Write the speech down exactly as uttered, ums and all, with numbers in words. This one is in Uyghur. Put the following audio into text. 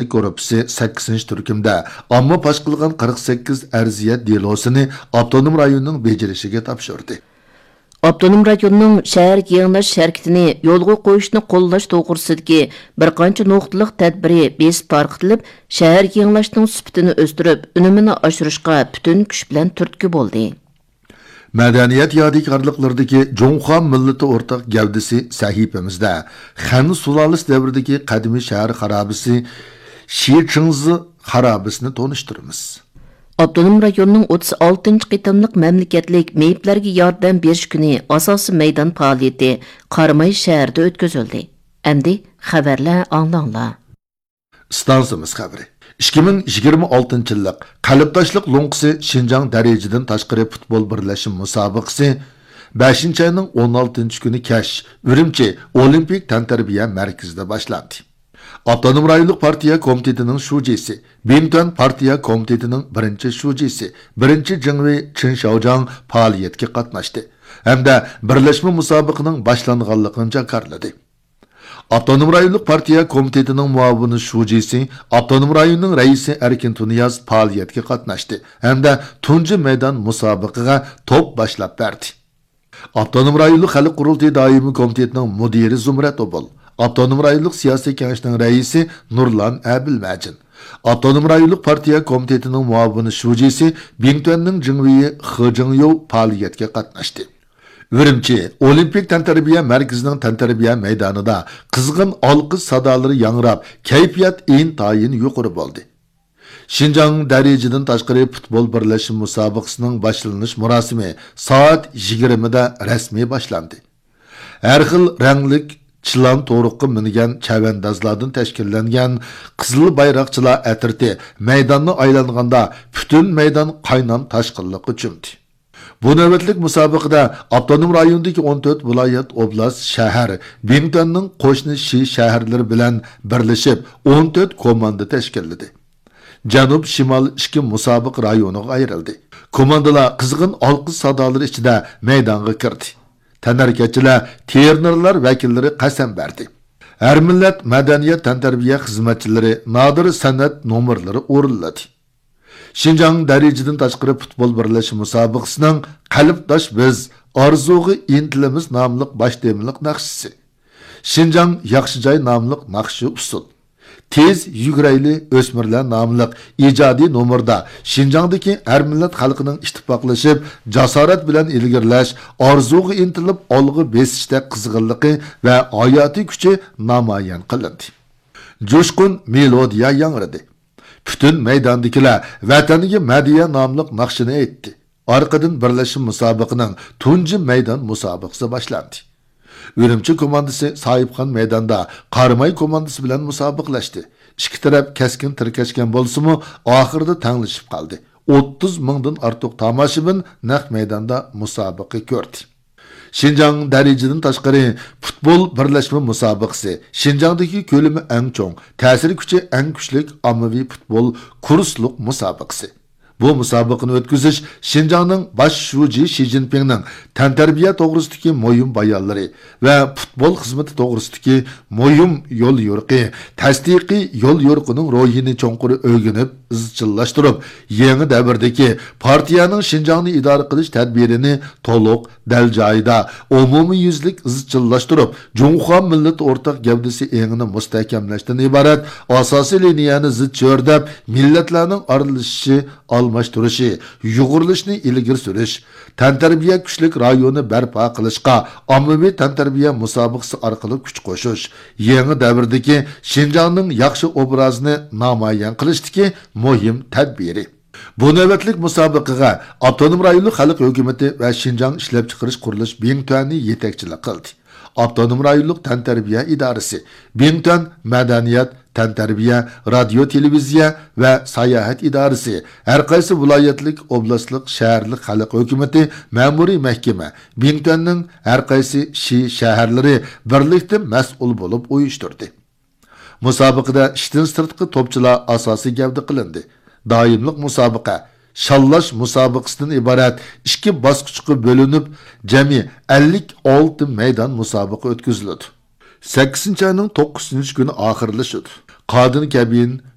گۇرۇپپىسى سەككىزىنچى تۈركۈمدە ئامما پاش قىلغان قىرىق سەككىز ئەرزىيەت دېلوسىنى ئاپتونوم رايوننىڭ بېجىرىشىگە تاپشۇردى. ئاپتونوم رايوننىڭ شەھەرگە يېڭىلاش ھەرىكىتىنى يولغا قويۇشنى قوللاش توغرىسىدىكى بىر قانچە نۇقتىلىق تەدبىرى بېسىپ تارقىتىلىپ، شەھەرگە يېڭىلاشنىڭ سۈپىتىنى ئۆستۈرۈپ، ئۈنۈمىنى ئاشۇرۇشقا پۈتۈن كۈچ بىلەن تۈرتكە بولدى. مەدەنىيەت يادىكارلىقلىرىدىكى جۇڭخۇا مىللىتى ئورتاق گەۋدىسى سەھىپىمىزدە خەن سۇلالىسى دەۋرىدىكى قەدىمىي شەھەر خارابىسى شىچىڭزى خارابىسىنى تونۇشتۇرىمىز. ئاپتونوم رايوننىڭ ئوتتۇز ئالتىنچى قېتىملىق مەملىكەتلىك مېيىپلەرگە ياردەم بېرىش كۈنى ئاساسىي مەيدان پائالىيىتى قاراماي شەھىرىدە ئۆتكۈزۈلدى. ئەمدى خەۋەرلەر ئاڭلاڭلار. ئىستانسىمىز خەۋىرى. ئىككى مىڭ يىگىرمە ئالتىنچى يىللىق قەلبداشلىق لوڭقىسى شىنجاڭ دەرىجىدىن تاشقىرى پۇتبول بىرلەشمە مۇسابىقىسى بەشىنچى ئاينىڭ ئون ئالتىنچى كۈنى كەچ ئۈرۈمچى ئولىمپىك تەنتەربىيە مەركىزىدە باشلاندى. ئاپتونوم رايونلۇق پارتىيە كومىتېتىنىڭ شۇجىسى، بىڭتۈەن پارتىيە كومىتېتىنىڭ بىرىنچى شۇجىسى، بىرىنچى جىڭۋېي چېن شياۋجياڭ پائالىيەتكە قاتناشتى ھەمدە بىرلەشمە مۇسابىقىنىڭ باشلانغانلىقىنى جاكارلىدى. ئاپتونوم رايونلۇق پارتىيە كومىتېتىنىڭ مۇئاۋىن شۇجىسى، ئاپتونوم رايوننىڭ رەئىسى ئەركىن تۇنىياز پائالىيەتكە قاتناشتى ھەمدە تۇنجى مەيدان مۇسابىقىگە توپ باشلاپ بەردى. ئاپتونوم رايونلۇق خەلق قۇرۇلتىيى دائىمىي كومىتېتىنىڭ مۇدىرى زۇمرەت ئوبۇل، ئاپتونوم رايونلۇق سىياسىي كېڭەشنىڭ رەئىسى نۇرلان ئەبىلمەجىن، ئاپتونوم رايونلۇق پارتىيە كومىتېتىنىڭ مۇئاۋىن شۇجىسى، بىڭتۈەننىڭ جىڭۋېيى خې جىڭيوۋ پائالىيەتكە قاتناشتى. ئۈرۈمچى ئولىمپىك تەنتەربىيە مەركىزىنىڭ تەنتەربىيە مەيدانىدا قىزغىن ئالقىش سادالىرى ياڭراپ، كەيپىيات ئىنتايىن يۇقىرى بولدى. شىنجاڭ دەرىجىدىن تاشقىرى پۇتبول بىرلەشمە مۇسابىقىسىنىڭ باشلىنىش مۇراسىمى سائەت يىگىرمىدە رەسمىي باشلاندى. ھەر خىل رەڭلىك چىلان تورۇققا مىنگەن چەۋەندازلاردىن تەشكىللەنگەن قىزىل بايراقچىلار ئەترىتى مەيداننى ئايلانغاندا، پۈتۈن مەيدان قاينام تاشقىنلىققا چۆمدى. بۇ نۆۋەتلىك مۇسابىقىدە ئاپتونوم رايوندىكى ئون تۆت ۋىلايەت، ئوبلاست، شەھەر، بىڭتۈەننىڭ قوشنا شى شەھەرلىرى بىلەن بىرلىشىپ ئون تۆت كوماندا تەشكىللىدى. جەنۇب، شىمال ئىككى مۇسابىقە رايونىغا ئايرىلدى. كوماندىلار قىزغىن ئالقىش سادالىرى ئىچىدە مەيدانغا كىردى. تەنھەرىكەتچىلەر، تىرېنېرلار ۋەكىللىرى قەسەم بەردى. ھەر مىللەت مەدەنىيەت تەنتەربىيە خىزمەتچىلىرى نادىر سەنئەت نومۇرلىرى ئورۇنلىدى. شىنجاڭ دەرىجىدىن تاشقىرى پۇتبول بىرلەشمە مۇسابىقىسىنىڭ قەلبداش بىز، ئارزۇغا ئىنتىلىمىز ناملىق باش تېمىلىق ناخشىسى، شىنجاڭ ياخشى جاي ناملىق ناخشا ئۇسسۇل، تېز يۈگۈرەيلى ئۆسمۈرلەر ناملىق ئىجادىي نومۇردا شىنجاڭدىكى ھەر مىللەت خەلقىنىڭ ئىتتىپاقلىشىپ، جاسارەت بىلەن ئىلگىرىلەش، ئارزۇغا ئىنتىلىپ ئالغا بېسىشتەك قىزغىنلىقى ۋە ھاياتىي كۈچى نامايان قىلىندى. جۇشقۇن مېلودىيە ياڭرىدى. پۈتۈن مەيداندىكىلەر ۋەتەنگە مەدھىيە ناملىق ناخشىنى ئېيتتى. ئارقىدىن بىرلەشمە مۇسابىقىنىڭ تۇنجى مەيدان مۇسابىقىسى باشلاندى. ئۈرۈمچى كوماندىسى ساھىبخان مەيداندا قاراماي كوماندىسى بىلەن مۇسابىقىلەشتى. ئىككى تەرەپ كەسكىن تىركەشكەن بولسىمۇ، ئاخىرىدا تەڭلىشىپ قالدى. ئوتتۇز مىڭدىن ئارتۇق تاماشىبىن نەق مەيداندا مۇسابىقە كۆردى. شىنجاڭ دەرىجىدىن تاشقىرى پۇتبول بىرلەشمە مۇسابىقىسى، شىنجاڭدىكى كۆلىمى ئەڭ چوڭ، تەسىر كۈچى ئەڭ كۈچلۈك ئاممىۋى پۇتبول كۇرسلۇق مۇسابىقىسى. بۇ مۇسابىقىنى ئۆتكۈزۈش شىنجاڭنىڭ باش شۇجى شى جىنپىڭنىڭ تەنتەربىيە توغرىسىدىكى مۇھىم بايانلىرى ۋە پۇتبول خىزمىتى توغرىسىدىكى مۇھىم يوليورۇقى، تەستىقىي يوليورۇقىنىڭ روھىنى چوڭقۇر ئۆگىنىپ، ئىزچىللاشتۇرۇپ، يېڭى دەۋردىكى پارتىيەنىڭ شىنجاڭنى ئىدارە قىلىش تەدبىرىنى تولۇق، دەل جايىدا، ئومۇميۈزلۈك ئىزچىللاشتۇرۇپ، جۇڭخۇا مىللىتى ئورتاق گەۋدىسى ئېڭىنى مۇستەھكەملەشتىن ئىبارەت ئاساسىي لىنىيەنى زىچ چۆرىدەپ، مىللەتلەرنىڭ ئارىلىشىشى، ئالماشتۇرۇشى، يۇغۇرۇلۇشىنى ئىلگىرى سۈرۈش، تەنتەربىيە كۈچلۈك رايونى بەرپا قىلىشقا ئاممىۋى تەنتەربىيە مۇسابىقىسى ئارقىلىق كۈچ قوشۇش، يېڭى دەۋردىكى شىنجاڭنىڭ ياخشى ئوبرازىنى نامايان قىلىشتىكى مۇھىم تەدبىرى. بۇ نۆۋەتلىك مۇسابىقىگە ئاپتونوم رايونلۇق خەلق ھۆكۈمىتى ۋە شىنجاڭ ئىشلەپچىقىرىش قۇرۇلۇش بىڭتۈەنى يېتەكچىلىك قىلدى. ئاپتونوم رايونلۇق تەنتەربىيە ئىدارىسى، بىڭتۈەن مەدەنىيەت، تەنتەربىيە، رادىيو، تېلېۋىزىيە ۋە ساياھەت ئىدارىسى، ھەرقايسى ۋىلايەتلىك، ئوبلاستلىق، شەھەرلىك خەلق ھۆكۈمىتى، مەمۇرىي مەھكىمە، بىڭتۈەننىڭ ھەرقايسى شى شەھەرلىرى بىرلىكتە مەسئۇل بولۇپ ئۇيۇشتۇردى. مۇسابىقىدە ئىشتىن سىرتقى توپچىلار ئاساسىي گەۋدە قىلىندى. دائىملىق مۇسابىقە، شاللاش مۇسابىقىسىدىن ئىبارەت ئىككى باسقۇچقا بۆلۈنۈپ، جەمئىي ئەللىك ئالتە مەيدان مۇسابىقە ئۆتكۈزۈلىدۇ. سەككىزىنچى ئاينىڭ توققۇزىنچى كۈنى ئاخىرلىشىدۇ. قادىن كەبىن